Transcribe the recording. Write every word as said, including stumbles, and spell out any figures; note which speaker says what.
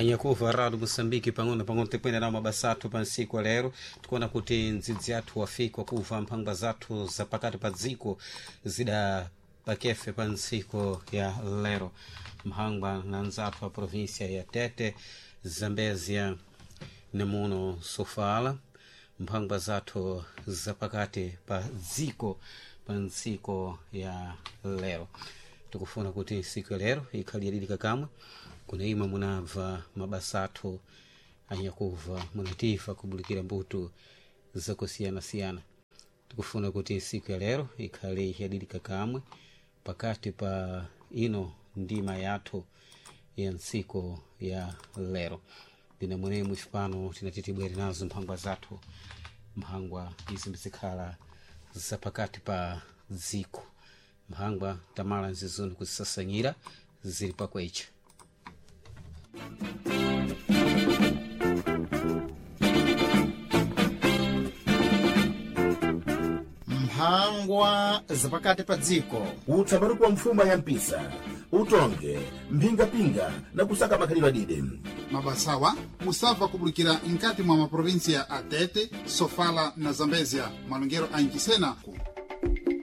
Speaker 1: Anyakuva rado Moçambique, pang'ono pang'ono tikwenda nawo mabasa athu pa ntsiku ya lero. Tikuona kuti ndzidzi athu wafika kuva mphangwa zathu zapakati pa dziko zida pakefe pa ntsiku ya lero, mphangwa na nzathu a província ya Tete, Zambezia nemuno Sofala, mphangwa zathu zapakati pa dziko pa ntsiku ya lero. Tikufuna kuti ntsiku ya lero ikhale yadidika kamwe kuna imwe munabva mabasa athu anyakuva munatifa kubulikira mbuto zakusiyanasiyana. Tikufuna kuti ntsiku ya lero ikhale yadidika kamwe pakati pa ino ndima yathu ya ntsiku ya lero. Ndine mwenemwe pano tinati tibwere nazo mphangwa zathu, mphangwa izi mbizikhala zapakati pa dziko, mphangwa tamala nzizoni kuzisasanyira zili pakwecha.
Speaker 2: Mphangwa zapakati pa dziko.
Speaker 3: Utsaparuku wa mfuma ya mpisa, utonge mphingapinga na kusaka makhalidwe adide.
Speaker 4: Mabasawa musabva kubulikira nkati mwa maprovinsia a Tete, Sofala na Zambezia, malongero a Inchisena ku